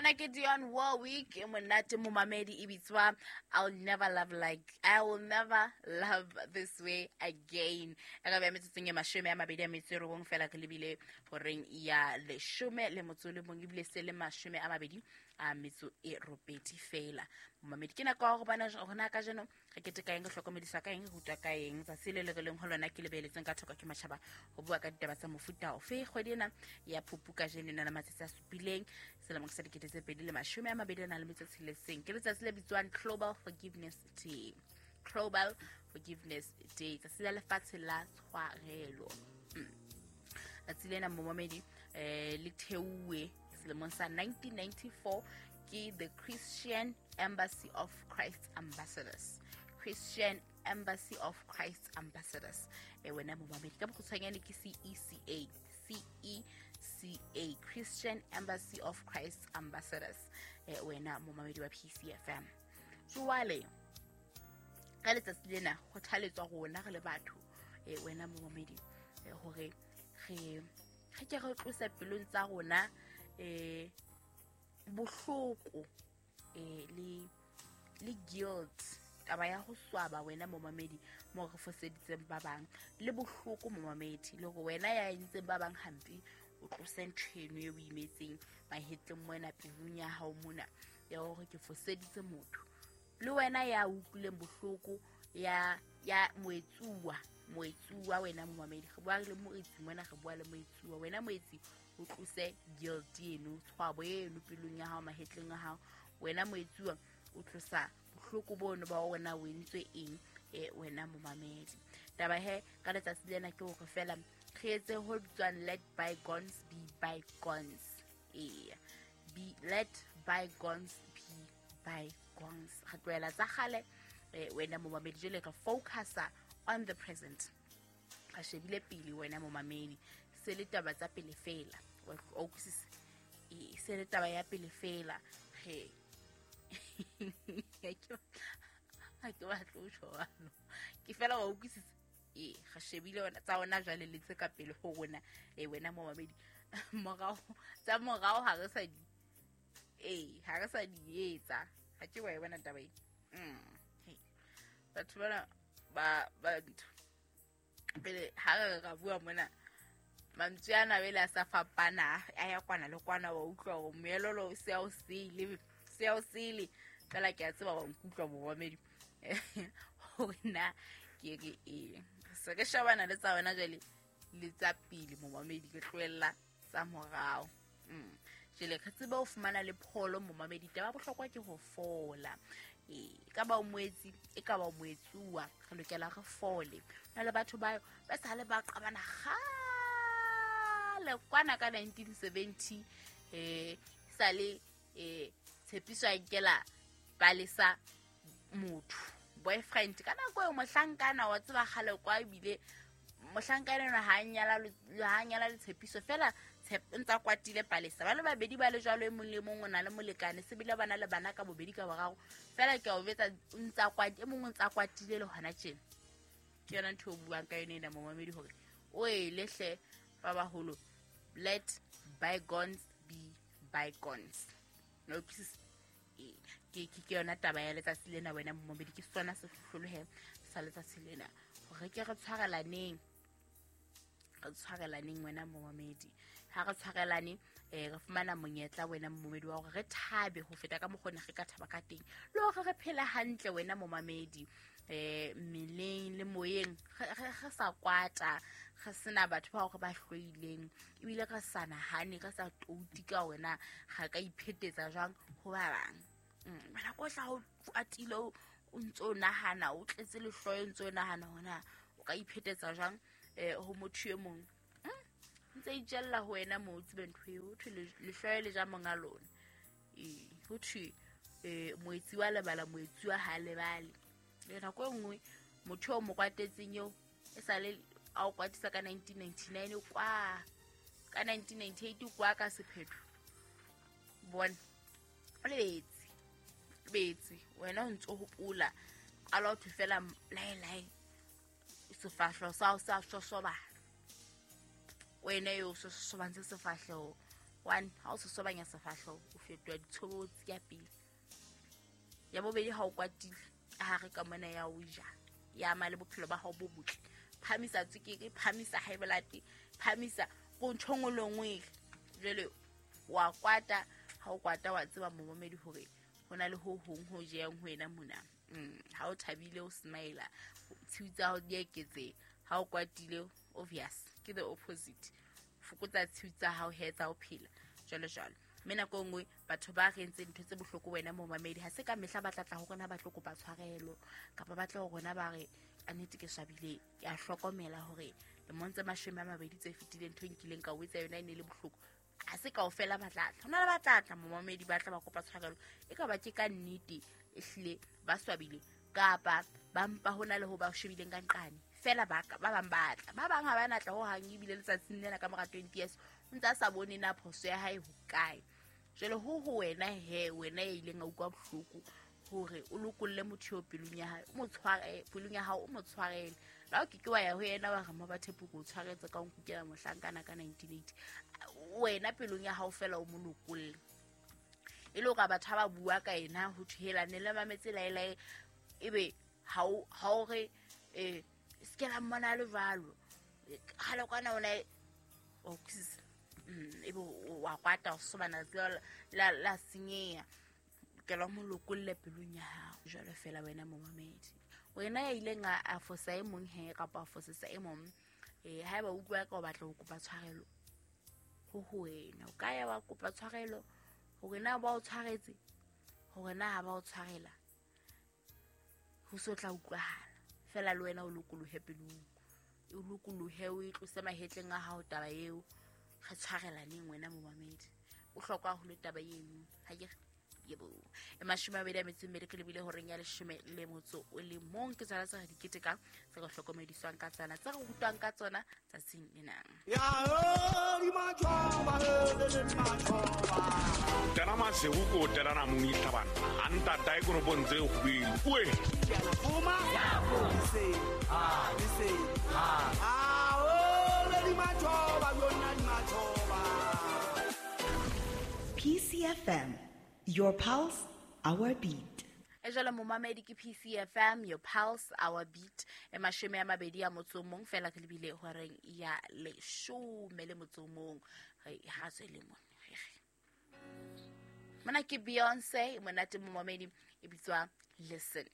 Ona ke Dionne Warwick e monate momamedi e bitswa I'll never love like I will never love this way again. E ka beya metsotsong e 29 fela re lebile horeng ya 18 ebile se le 28 fela. Momamedi ke nako ya go bona gona ka jeno re keteka eng, re hlokomedisa ka eng, re rutwa ka eng. Tsatsi le le re leng ho lona ke lebeletseng ka thoko ke matjhaba ho bua ka ditaba tsa mofuta ofe. Kgwedi ena ya Phupu kajeno e na le matsatsi a supileng selemong sa 2026. Ke letsatsi le bitswang Global Forgiveness Day. Global Forgiveness Day, tsatsi la lefatshe la tshwarelo. Tsatsi lena momamedi le theuwe selemong sa 1994 ke the Christian Embassy of Christ Ambassadors. Christian Embassy of Christ Ambassadors. Wena momamedi ka bokgutshwanyane ke CECA. CECA, Christian Embassy of Christ Ambassadors. Wena momamedi wa PCFM. Jwale ka letsatsi lena kgothaletswa rona re le batho, wena momamedi, hore re ke re tlose pelong tsa rona bohloko le guilt, taba ya ho swaba wena momamedi mo re foseditseng ba bang, le bohloko momamedi, le hore wena ya entseng ba bang hampe o tlose ntho eno e o imetseng mahetleng mona pelong ya hao mona ya hore ke foseditse motho. Le wena ya utlwileng bohloko ya moetsuwa wena momamedi, re bua le moetsi mona, re bua le moetsuwa. Wena moetsi o tlose guilt eno, tshwabo eno pelong ya hao, mahetleng a hao. Wena moetsuwa o tlosa bohloko bono ba wena o entswe eng, wena momamedi. Taba he ka letsatsi lena ke hore fela re etse ho bitswang let bygones be bygones. Be let bygones be bygones. Re tlohela tsa kgale, wena momamedi, jwale re focusa on the present. Re shebile pele wena momamedi, se le taba tsa pele fela. O utlwisisa? Se le taba ya pele fela. Re ha ke batle ho tjho jwalo. Ke fela wa utlwisisa? Re shebile wena tsa ona jwale le tse ka pele ho rona. Wena momamedi, morao tsa morao ha re sa di ha re sa di etsa. Ha ke wa e bona taba e. Batho bana ba ntho pele ha re ra bua mona mantswe ana bele a sa fapana, a ya kwana le kwana, wa utlwa hore moelolo o se a o sele fela. Ke a tseba wa nkutlwa momamedi hore na ke re eng. Se re shebana le tsa wena jwale le tsa pele momamedi, ke tlohella tsa morao. Jwale re tsebe ho fumana le pholo momamedi. Taba bohlokwa ke ho fola. E ka ba o moetsi, e ka ba o moetsuwa, re lokela re fole. Na le batho ba ba sale ba qabana kgale kwana ka 1970, sale tshepiso a nkela palesa motho boyfriend ka nako eo mohlankana wa tseba kgale kwa, ebile mohlankana ena ha nyala le tshepiso fela ntsa kwatile palesa. Ba le babedi ba le jwalo, e mong le mong o na le molekane, sebile ba na le bana ka bobedi ka boraro fela. Ke a o betsa ntsa kwatile, e mong o ntsa kwatile le hona tjena. Ke yona ntho o buang ka yona ena momamedi, hore o e lehle ba baholo, let bygones be bygones. No ke yona taba ya letsatsi lena wena momamedi, ke sona sehlohlolohe sa letsatsi lena, hore ke re tshwarelaneng, wena momamedi. Ha re tshwarelane, re fumana monyetla wena momamedi wa hore re thabe ho feta ka mokgwa re ka thaba ka teng, le hore re phele hantle wena momamedi, mmeleng le moyeng, re sa kwata, re sena batho ba hore ba hloileng, ebile re sa nahane, re sa touti ka wena ga ka iphetetsa jwang ho ba bang. Bana ko tla o kwatile, o ntso o nahana, o tletse lehloyo, ntso o nahana hona o ka iphetetsa jwang ho motho e mong. Ntse itjella ho wena mo o tsebe ntho eo, ho thwe lehloyo le ja monga lona. Ho thwe moetsi wa lebala, moetsi wa ha lebale. Le nako e nngwe motho o mo kwatetseng eo e sale a o kwatisa ka 1999 kwa ka 1998 kwa ka sephetho. Bona o lebetse wena o ntso hopola qala o thwe fela lae sefahleho sa hao sa sosobana, wena eo sosobantse sefahleho One, ha o sosobanya sefahleho o fetoha ditshobotsi ya pele. Ya bobedi, ha o kwatile ka hare ka mona ya o ja, ya ama le bophelo ba hao bo botle. Phamisa tswekere, phamisa high blood, phamisa ko ntho nngwe le nngwe. Jwale wa kwata, ha o kwata wa tseba momamedi hore ho na le ho hong ho jeyang ho wena mona. Ha o thabile o smile, tshiu tsa hao di eketseha. Ha o kwatile, obvious ke the opposite, fokotsa tshiu tsa hao he tsa ho phela jwalo jwalo. Mme nako e nngwe batho ba re entseng ntho tse bohloko wena momamedi, ha se ka mehla ba tlatla ho rona ba tlo kopa tshwarelo, kapa ba tla ho rona ba re ka nnete ke swabile, ke a hlokomela hore lemong tse 20 tse fetileng ntho e nkileng ka o etsa yona e ne le bohloko. Ha se kaofela ba tlatla, ho na le ba tlatla momamedi ba tla ba kopa tshwarelo, e ka ba ke ka nnete ehlile ba swabile, kapa ba mpa ho na le ho ba shebileng ka nqane fela. Ba bang ba tla, ba bang ha ba natla ho hang, ebile letsatsing lena ka mora 20 years o ntse a sa bone na phoso ya hae hokae. Jwale ho ho wena he, wena ya ileng a utlwa bohloko, hore o lokolle motho eo pelong ya hae, o mo tshware pelong ya hao, o mo tshwarele. La o ke ke wa ya ho yena wa re Mmabathepo ke o tshwaretse ka o nkukela mohlankana ka 1980, wena pelong ya hao fela o mo lokolle. E le hore batho ha ba bua ka ena ho thwe ne le mametse laelae, ebe ha o re se ke la mmona le jwalo kgale kwana ona o utlwisisa, ebe wa kwata o sobana la senyeha. Lokela mo lokolle pelong ya hao jwalo fela wena momamedi, wena ya ileng a fosa e mong he kapa a fosesa e mong. Haeba o utlwa ka o batla ho kopa tshwarelo, ho ho wena o ka ya wa kopa tshwarelo, hore na ba o tshwaretse, hore na ha ba o tshwarela, ho so tla utlwahala fela. Le wena o lokolohe pelong, o lokolohe, o e tlose mahetleng a hao taba eo. Re tshwarelaneng wena momamedi, o hlokwa haholo taba eno. Ha ke yebo, e 22 ke lebile horeng ya 11. Ke tsona tse re di ketekang, tse re hlokomediswang ka tsona, tse re rutwang ka tsona tsatsing lena. Tena maseru ko tena namuni tlhabana a ntata e koropong tse kgubelu oe. PCFM, your pulse, our beat. E jwale momamedi ke PCFM, your pulse, our beat. E 21 fela re lebile horeng ya 11. Re ha tswele mona. Mona ke Beyonce, monate momamedi, e bitswa Listen.